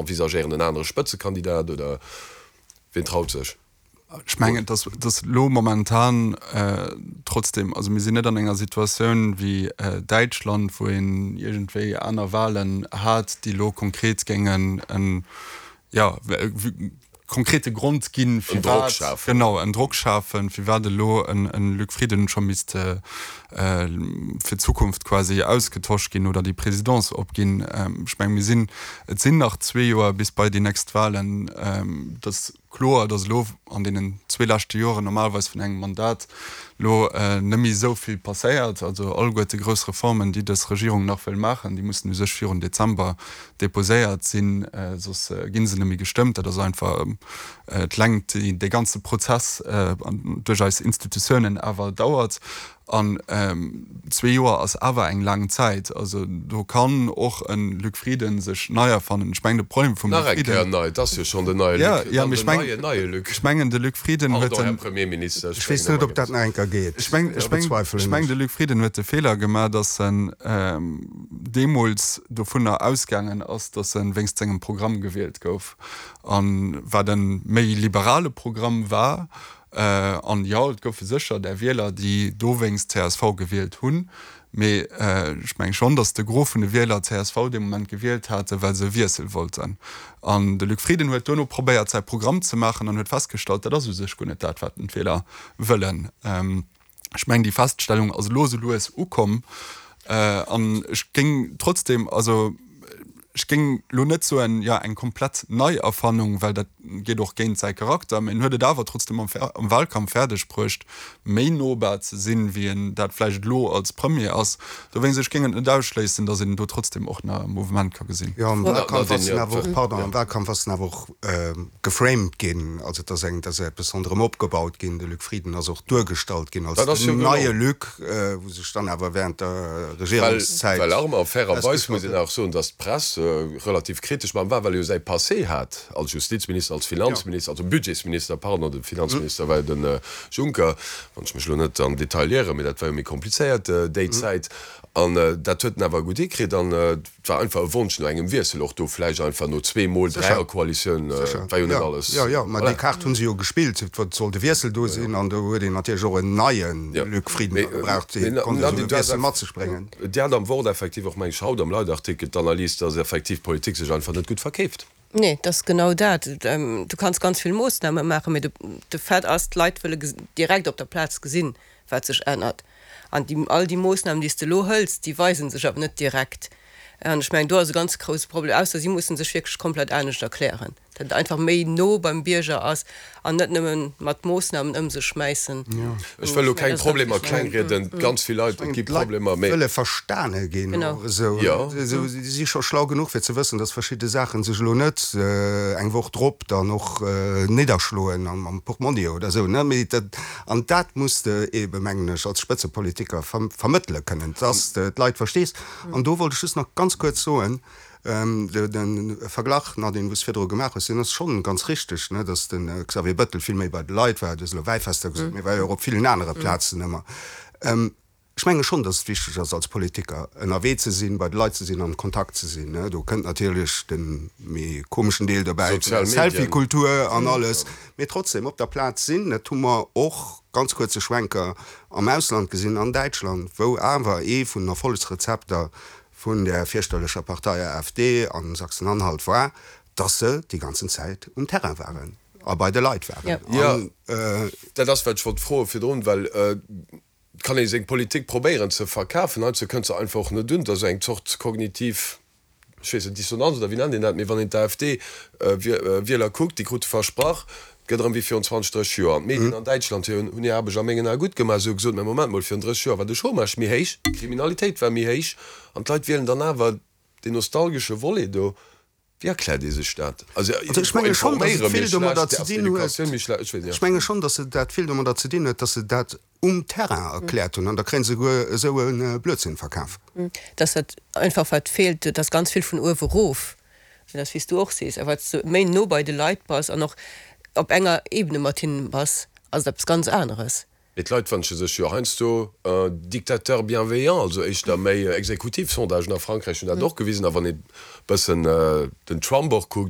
Envisagéieren en anere Spëtzekandidat oder wien traut sech? Ech mengen, dass dass elo momentan trotzdem, also mir sinn net an enger Situatioun wéi Däitschland, wou een iergendwéi aner Wahlen hat, déi elo konkret géingen en, jo, konkrete Grond ginn, firwat, genau, en Drock schafen, firwat elo en Luc Frieden scho misst fir d'Zukunft quasi ausgetosch ginn oder déi Présidence opginn. Ech menge mir sinn, et sinn nach zwee Joer bis bei déi nächst Wahlen. Et ass kloer, datt elo an deenen zwee leschte Joren normalerweis vun engem Mandat elo net méi esou vill passéiert. Also alleguerte grouss Reformen, déi dës Regierung nach wëll maachen, déi mussen u sech virun Dezember deposéiert sinn, soss gi se net méi gestëmmt. Dat ass einfach d'Längt, déi dee ganze Prozess duerch eis Institutiounen awer dauert. An zwee Joer ass awer eng laang Zäit. Also do kann och e Luc Frieden sech nei erfannen. Ech mengen de Problem vum Luc Frieden. Nach eng Kéier nei, et ass jo schonn den neie Luc, dann den neien neie Luc. Ech mengen de Luc Frieden huet den. Pardon, Här Premierminister, ech weess net, ob dat nach eng Kéier geet. Ech mengen de Luc Frieden huet de Feeler gemaach, datt en deemools dovunner ausgaangen ass, datt e wéinst sengem Programm gewielt gouf, a wat e méi liberale Programm war. An jo, et goufe sécher där Wieler, déi dowéinst csv gewielt hunn, mee ech menge schonn, datt de Gros vun de Wieler csv dee Moment gewielt hate well se e Wiessel wollten. An de Luc Frieden huet duerno probéiert, säi Programm ze maachen an huet festgestallt, dat ass u sech guer net dat, wat d'Wieler wëllen. Ech mengen, déi Feststellung ass elo esou lues ukomm. An ech géing trotzdem, also ech géing elo net soen, jo, eng komplett Neierfannung, well dat geet och géint säi Charakter, mä en huet et awer trotzdem am am Wahlkampf fäerdeg bruecht, méi nobar ze sinn, wéi en dat vläicht elo als Premier ass. Dowéinst, ech géing et net ausschléissen, datt een do trotzdem och nach e Mouvement ka gesinn. Jo, am Wahlkampf ass en awer och, pardon, am Wahlkampf ass en awer och geframed ginn, also et ass eng, et ass eppes ronderëm opgebaut ginn. De Luc Frieden ass och duergestallt ginn als den neie Luc, wou sech dann awer während der Regierungszäit. Well Armand, fairerweis muss een awer soen, datt d'Press relativ kritesch mam war, well e jo säi Passé hat als Justizminister, als Finanzminister, also Budgetsminister, pardon, de Finanzminister war jo de Juncker, wann ech mech elo net am Detail ieren, mee dat war jo méi komplizéiert déi Zäit. An dat huet en awer gutt hikritt. An et war einfach e Wonsch no engem Wiessel och do, vläicht einfach no zweemol Dräierkoalitioun, et war jo net alles. Jo, jo, mä déi Kaart hu se jo gespillt, et sollt e Wiessel do sinn an do huet een natierlech och en neie Luc Frieden da gebraucht, dee konnt esou e Wiessel mat sech bréngen. Dir hat am Wort effektiv och, meng ech, haut am Leitartikel d'Analys, dass effektiv d'Politik sech einfach net gutt verkeeft. Nee, et ass genau dat. Du kanns ganz vill Moossname maachen, mee de Fait ass, d'Leit wëlle direkt op der Plaz gesinn, wat sech ännert. An déi, all déi Moossnamen, déi s de elo hëls, déi weise sech awer net direkt. An ech mengen, do ass e ganz grousse Problem, ausser si musse sech wierklech komplett anescht erklären, datt et einfach méi no beim Bierger ass an net nëmme mat Moossnamen ëm sech schmäissen. Ech wëll elo keng Problemer klengrieden, ganz vill Leit, et gi Problemer, mee. Wëlle verstane ginn och esou. Si si scho schlau genuch fir ze wëssen, datt verschidde Saache sech elo net eng Woch drop dann och nidderschloen am Portmonni oder esou, ne? Mee dat, An dat muss de eebe, mengen ech, als Spëtzepolitiker vermëttele kënnen, dass de d'Leit verstees. An do wollt ech just nach ganz kuerz soen, de Verglach, Nadine, wou s de virdru gemaach hues, deen ass schonn ganz richteg, ne, dass de Xavier Bettel vill méi bei de Leit war. Du hues elo Wäifester gesot, mee e war jo och op villen anere Plazen ëmmer. Ech menge schonn, datt et wichteg ass als Politiker ënnerwee ze sinn, bei de Leit ze sinn, am Kontakt ze sinn. Do kënnt natierlech de méi komeschen Deel dobäi vun der Selfie-Kultur an alles, mee trotzdem op der Plaz sinn. Dat hu mer och, ganz kuerze Schwenker, am Ausland gesinn, an Däitschland, wou awer ee vun den Erfollegsrezepter vun där fierchterlecher Partei AfD a Sachsen-Anhalt war, datt se déi ganzen Zäit um Terrain waren a bei de Leit waren. Jo, dat ass wat ech wollt froe virdrun, well Et kann ee seng Politik probéieren ze verkafen, heiansdo kënnt se einfach och net un. Et ass eng Zort kognitiv, ech weess net, Dissonanz oder wéi nennt een dat, mee wann een d'AfD-Wieler kuckt, déi krute versprach, et gëtt erëm wéi virun 20, 30 Joer. An d'Medien an Däitschland hunn hir Aarbecht a mengen Ae gutt gemaach. Se hu gesot, mä Moment mol, virun 30 Joer war de Chômage méi héich, d'Kriminalitéit war méi héich an d'Leit wielen dann awer deen nostalgesche Volet do. Wéi erkläert Dir sech dat? Also ech menge schonn, datt et vill domadder ze dinn huet, ech menge schonn, datt et dat vill domadder ze dinn huet, datt se dat um Terrain erkläert hunn an da kréie se souguer esou e Blödsinn verkaf. Datt dat einfach wat feelt, et ass ganz vill vun uewe erof, dat ass wéi s du och sees, a wat s de méi no bei de Leit bass an och op enger Ebene mat hinnen bass, ass et eppes ganz aneres. Mee d'Leit wënsche sech jo heiansdo un dictateur bienveillant, also éischter méi exekutiv. Sondagen a Frankräich hunn dat och gewisen. A wann ee bëssen den Trump och kuckt.